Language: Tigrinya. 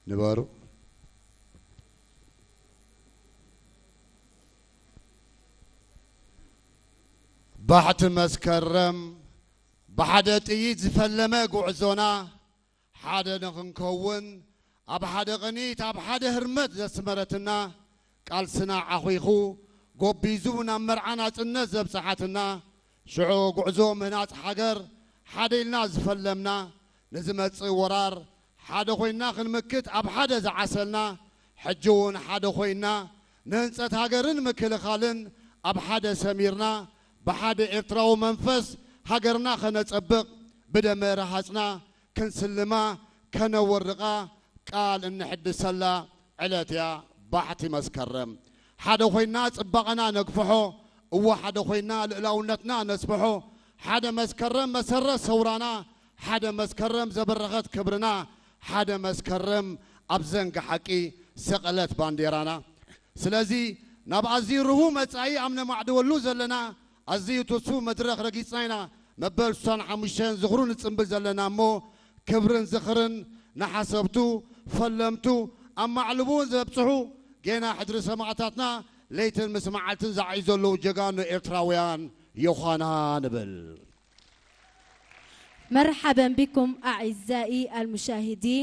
ንበሩ። ባሕቲ መስከረም ብሓደ ጥይት ዝፈለመ ጉዕዞና ሓደ ንኽንከውን ኣብ ሓደ ቅኒት ኣብ ሓደ ህርመት ዘስመረትና ቃልስና ዓኺኹ ጎቢዙ ናብ መርዓ ናጽነት ዘብጽሓትና ሽዑ ጉዕዞ ምህናጽ ሃገር ሓደ ኢልና ዝፈለምና ንዝመጽእ ወራር ሓደ ኮይና ክንምክት ኣብ ሓደ ዝዓሰልና ሕጂ እውን ሓደ ኮይና ንህንጸት ሃገርን ምክልኻልን ኣብ ሓደ ሰሚርና ብሓደ ኤርትራዊ መንፈስ ሃገርና ከነጸብቕ ብደመ ረሃጽና ክንስልማ ከነወርቓ ቃል እንሕድሰላ ዕለት እያ ባሕቲ መስከረም። ሓደ ኮይና ጽባቐና ነግፍሖ፣ እወ ሓደ ኮይና ልእላውነትና ነስፍሖ። ሓደ መስከረም መሰረት ሰውራና፣ ሓደ መስከረም ዘበረኸት ክብርና፣ ሓደ መስከረም ኣብ ዘንጊ ሓቂ ሰቐለት ባንዴራና። ስለዚ ናብ ኣዝዩ ርሁው መጻኢ ኣብ ነማዕድወሉ ዘለና ኣዝዩ ትስፉው መድረኽ ረጊጽና ኢና። መበል ስሳን ሓሙሽተን ዝኽሩ ንጽንብል ዘለና እሞ ክብርን ዝኽርን ንሓሰብቱ ፈለምቱ ኣብ ማዕልቡ እውን ዘብጽሑ ጌና ሕድሪ ሰማእታትና ለይትን ምስ መዓልትን ዝዓዩ ዘለዉ ጀጋኑ ኤርትራውያን ይኾና ንብል። مرحبا بكم أعزائي المشاهدين.